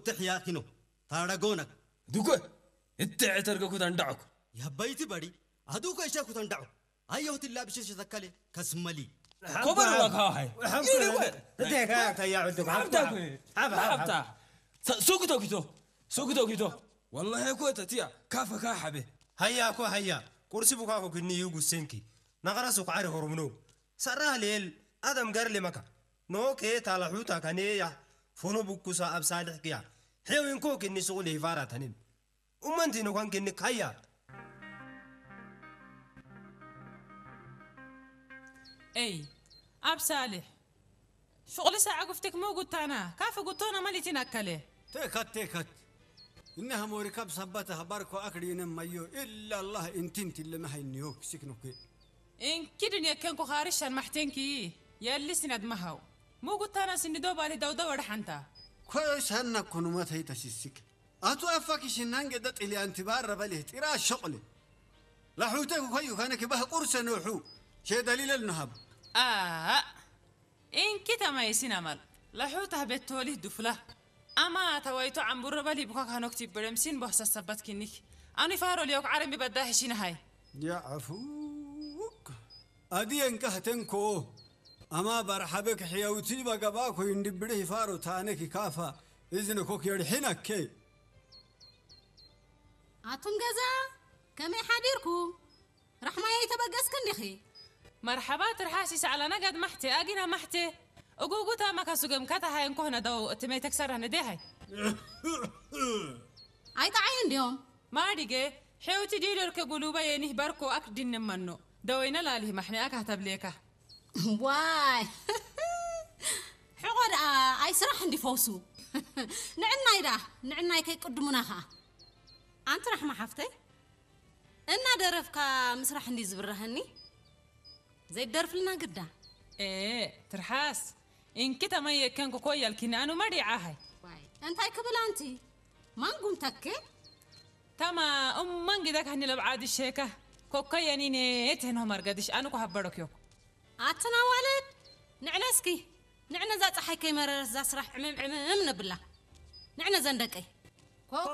ትሕያኪኖ ታረጎነክ ዱከ እትዕ ተርገኩ ተንዳዕኩ የበይቲ በሪ ኣዱከ ይሸኩ ተንዳዑ ኣየሁት ላብሽሽ ተከለ ከስመሊ ኮበል ዋካ ሃይ እዴካ ተያዕዱ ሓብታ ሱክቶ ኪቶ ሱክቶ ኪቶ ወላሂ እኮ ተትያ ካፈካ ሓበ ሃያ እኮ ሃያ ቁርሲ ቡካ ኮ ግኒ ይጉ ሴንኪ ናኸራ ሱክ ዓሪ ሆርምኖ ሰራ ሌል ኣደም ገር ሌመካ ኖ ኬ ታላሑታ ከኔያ ፎኖ ቡኩሳ ኣብ ሳልሕ ክያ ሄው እንኮ ግኒ ሱቁ ሌፋራ ተኒም ኡመንቲ ነኳን ግኒ ካያ ኤይ ኣብ ሳልሕ ሹቕሊ ሳዕ ጉፍትክ ሞ ጉታና ካፍ ጉቶና መሊቲን ኣከለ ቴካት ቴካት እነሀ ሞሪካብ ሰባተ ሀባርኮ አክሪነ ማዮ ኢላ አላህ እንቲን ትለመ ሀይንዮ ክሲክኖኩ እንኪድን የከንኩ ኻርሻን ማሕቴንኪ የልስን ኣድመሃው ሙጉታና ስንዶ ባሊ ደውደው ኣድሓንታ ኮይሳና ኮኑመት ሀይተሲስክ ኣቱ አፋኪ ሽናን ገደ ጥልያን ትባረ በሊህ ጢራ ሸቕሊ ላሑተ ኮይዩ ከነ ክባህ ቁርሰ ኖሑ ሸደሊለል ነሃብ ኣእ እንኪ ተማይሲን ኣማል ለሑ ታህቤት ተወሊህ ዱፍላ ኣማ ተዋይቶ ዓምቡረ በል ይብኳ ካኖክ ቲበደምሲን ቦህሰ ሰበት ኪኒክ ኣኑ ይፋሮ ልዮክ ዓረሚ በዳ ህሺን ሃይ ያዕፉክ ኣድየን ካህተንኮ ኣማ ባርሓበክ ሕያውቲ በገባ ኮይ እንድብድህ ይፋሮ ታነክ ይካፋ እዝነ ኮክ የድሒነከ ኣቱም ገዛ ከመይ ሓዲርኩም ራሕማየይ ተበገስክን ዲኺ መርሓባ ትርሓስ ይሰዕላ ነገድ ማሕቴ ኣጊና ማሕቴ እጉጉታ መካሱገም ካታ ሃይ እንኮህነ ደው እቲ መይተክሰራ ንዴ ሃይ ኣይጠዓዩ እንዲዮም ማዲገ ሔውቲ ዲዶልከ ጉሉባ የኒህ በርኮ ኣክድንመኖ ደወይነ ላሊህ ማሕኒኣ ካህተብሌካ ዋይ ሕቆ ደኣ ኣይ ስራሕ እንዲ ፈውሱ ንዕናይ ደኣ ንዕናይ ከይቅድሙና ኸኣ ኣንቲ ራሕማ ሓፍተይ እናደረፍካ ምስራሕ እንዲ ዝብረሀኒ ዘይደርፍልና ግዳ ኤ ትርሓስ እንኪ ተመየከንኩ ኮያልኪኒ ኣኑ መዲዓሃይ እንታይ ክብል ኣንቲ ማንጉም ተኬ ተማ እመን ግደክ ህኒ ለብዓዲ ሸካ ኮከየኒኔ ትህንሆ መርገድሽ ኣኑ ኮሃበረክዮኩ ኣትና ዋለድ ንዕነ እስኪ ንዕነ እዛ ፀሓይ ከይመረረት እዛ ስራሕ ዕምም ዕምም ነብላ ንዕነ ዘን ደቀይ ኮኮ